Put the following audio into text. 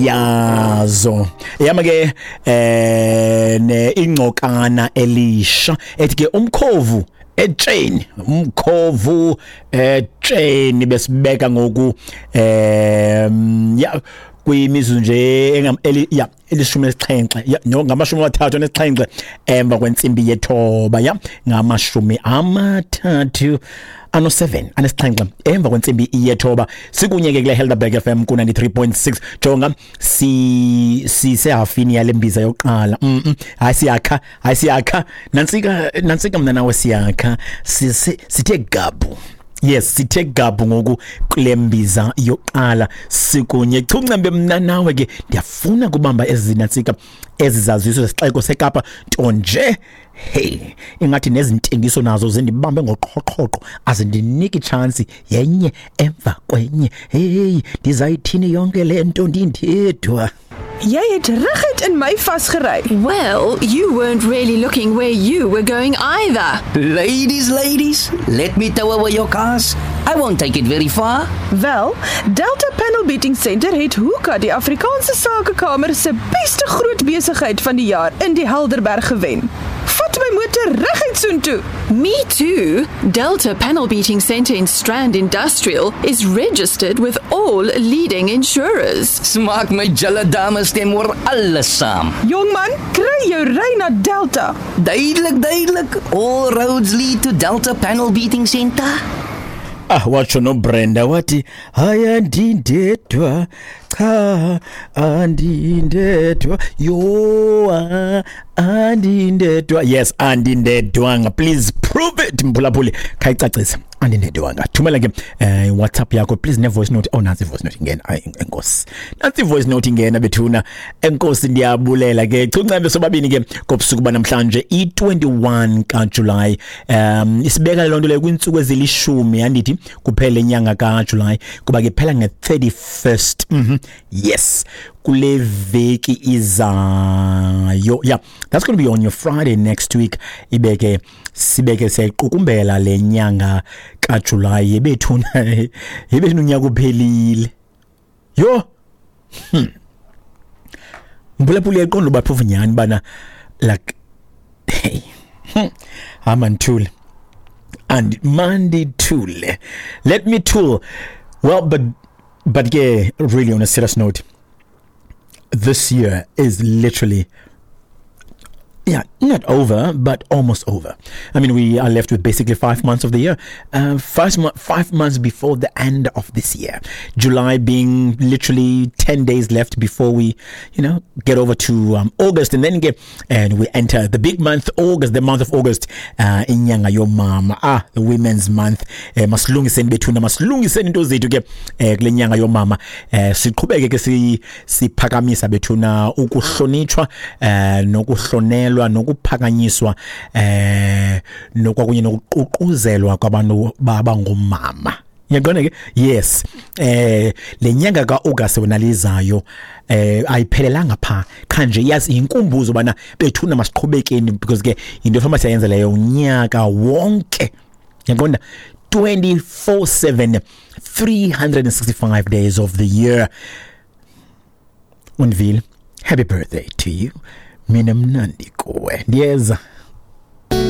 Yazo yama ke ne ingcokana elisha ethi ke umkhovu etsheni, umkhovu etsheni, besibeka ngoku ya kwimizuzu nje ya 17, ya no, 37 emva kwentsimbi yethoba, ya 37 emva kwentsimbi yethoba. Sikunye ke kule Helderberg FM ku 93.6. Jonga, si sisehafini yale mbiza yokuqala. Hayi siyakha, hayi siyakha, nantsika nantsika, mna nawe siyakha, sithe gabhu. Yes, sithe gabhu ngoku kule mbiza yokuqala, sikunye chuncembe mna nawe ke. Ndiyafuna kubamba ezi nantsika, ezi zaziso zesixeko seKapa, nto nje hey, ingathi nezintengiso nazo zindibambe ngoqhoqhoqho, azindiniki chance, yenye emva kwenye. Hey, ndizayithini yonke le nto ndindedwa? Jy het reguit in my vasgery. Well, you weren't really looking where you were going either. Ladies, ladies, let me tow away your cars. I won't take it very far. Wel, Delta Panel Beating Center het Hoeka die Afrikaanse Sakekamer se beste groot besigheid van die jaar in die Helderberg gewen. Vat my motor reguit soontoe. Me too. Delta Panel Beating Center in Strand Industrial is registered with all leading insurers. Smaak my julle dames stem oor alles saam. Jong man, kry jou ry na Delta. Duidelik, duidelik. All roads lead to Delta Panel Beating Center. Ah, watsho noBrenda wathi hayi, andindedwa, cha, andindedwa, yo, ah, andindedwa. Yes, andindedwanga. Please prove it, mphulaphuli, khayicacise, andindedwanga. Thumela ke WhatsApp yakho please, ne voice note. Oh, nansi voice note ingena. Ayi, enkosi, nansi voice note ingena bethuna, enkosi, ndiyabulela ke. Chuncembe sobabini ke kobusuku banamhlanje, i-21 kaJuly. Isibeka le nto leyo kwiintsuku ezilishumi, andithi, kuphela inyanga kaJuly, kuba ke phela nge-31st. Yes, kule veki izayo. Yeah, that's going to be on your Friday next week. Ibeke sibeke siyayiqukumbela le nyanga kaJuly yebethuna, yebethuna, unyaka uphelile. Yo, mphulaphula, uyaqonda uba phofu nyhani bana, like, hey, hamba ndithule and mandithule, let me tool. Well, but ke really, on a serious note, this year is literally, yeah, not over, but almost over. I mean, we are left with basically 5 months of the year. 5 months before the end of this year. July being literally 10 days left before we get over to August and then get, and we enter the big month, August, the month of August, inyanga yomama, ah, the Women's Month. Masilungiseni bethuna, masilungiseni into zethu ke kule nyanga yomama. Siqhubeke ke siphakamisa bethuna ukuhlonitshwa nokuhlonelwa nokuphakanyiswa nokwakunye nokuququzelwa kwabantu babangomama. Uyaqonda ke? Yes. Le nyanga kaAugust wena lizayo ayiphelelanga pha, qha nje yazi inkumbuzo bana bethuna masiqhubekeni, because ke into efama siyayenza leyo unyaka wonke. Uyaqonda, 24/7, 365 days of the year. Unville, happy birthday to you. Mina mnandi kuwe. Ndiyeza.